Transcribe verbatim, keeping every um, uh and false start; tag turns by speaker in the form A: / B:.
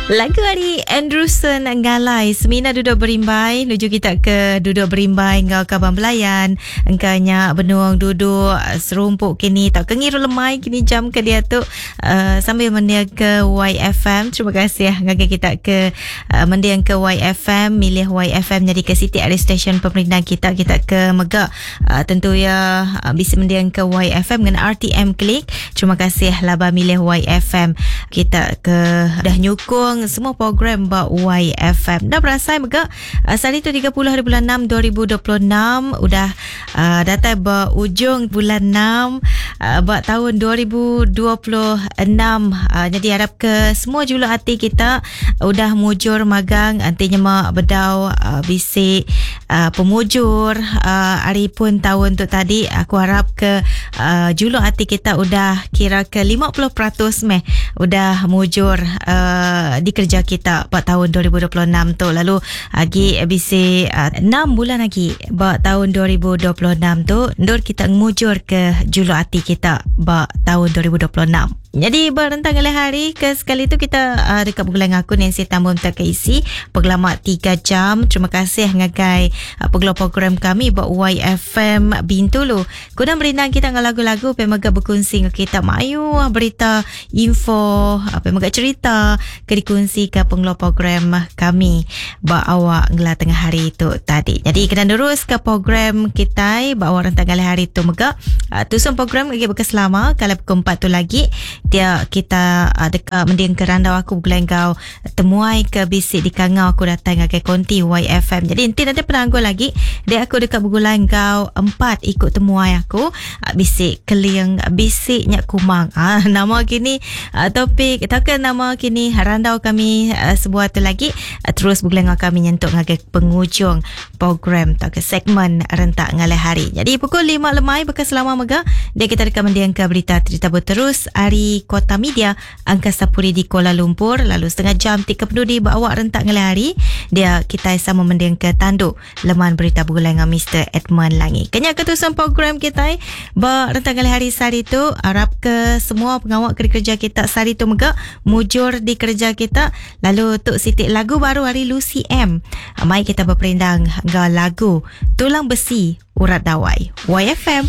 A: Lagu ari Andrewson Ngalai Semina Duduk Berimbai nuju kita ke duduk berimbai enggau kaban belayan engka nya benung duduk serumpuk kini tauka ngiru lemai kini jam ke diatu uh, sambil mending ke Y F M. Terima kasih ngagai kita ke uh, mending ke Y F M, milih Y F M jadi ke siti ari stesen pemerintah kita. Kita ke mega uh, tentu ya uh, bisa mending ke Y F M dengan R T M Klik. Terima kasih laba milih Y F M. Kita ke dah nyukung semua program ba Y F M. Dah berasai mega uh, sehari tu tiga puluh hari bulan enam dua ribu dua puluh enam udah uh, datai ba ujung bulan enam uh, ba tahun dua ribu dua puluh enam. Uh, jadi harap ke semua juluk hati kita udah mujur magang anti nyema bedau uh, bisik uh, pemujur uh, hari pun tahun tu tadi. Aku harap ke uh, juluk hati kita udah kira ke lima puluh peratus meh udah mujur uh, di kerja kita pada tahun dua ribu dua puluh enam tu. Lalu lagi bisi uh, enam bulan lagi ba tahun dua ribu dua puluh enam tu ndur kita ngmujur ke juluk hati kita ba tahun dua ribu dua puluh enam. Jadi berentang oleh hari ke sekali tu kita uh, dekat bergulang aku Nancy Tambun tak isi pengelamak tiga jam. Terima kasih ngagai uh, pengelola program kami buat Y F M Bintulu. Kudang berindang kita dengan lagu-lagu pemaga berkongsi dengan kita mayu berita info apa mega cerita ke dikongsi ke pengelola program kami buat awak ngela tengah hari tu tadi. Jadi kena terus ke program kita buat awak rentang kali hari tu mega uh, tusun program lagi berkeselama kalau pukul empat tu lagi dia kita uh, dekat mending ke randau aku bulan kau temuai ke bisik di kangau aku datang ngagai konti Y F M. Jadi nanti nanti penanggul lagi dia aku dekat bergulan kau empat ikut temuai aku uh, bisik keling bisik nyak kumang. Ah uh, nama kini uh, topik takkan nama kini randau kami uh, sebuah tu lagi uh, terus bergulan kami nyentuk ngagai penghujung program atau ke segmen rentak ngalih hari. Jadi pukul lima lemai bekas selama mega dia kita dekat mendiang ke berita cerita berterus hari Kota Media Angkasa Puri di Kuala Lumpur. Lalu setengah jam tiga pendudi bawa rentak ngalih hari dia kita sama mendiang ke tanduk leman berita bergulai dengan Mister Edmund Langi. Kenya ketusan program kita ba rentak ngalih hari sehari tu harap ke semua pengawal kerja kita sehari tu mega mujur di kerja kita. Lalu tuk sitik lagu baru hari Lucy M. Mai kita berperindang ngau lagu Tulang Besi Urat Dawai. Y F M.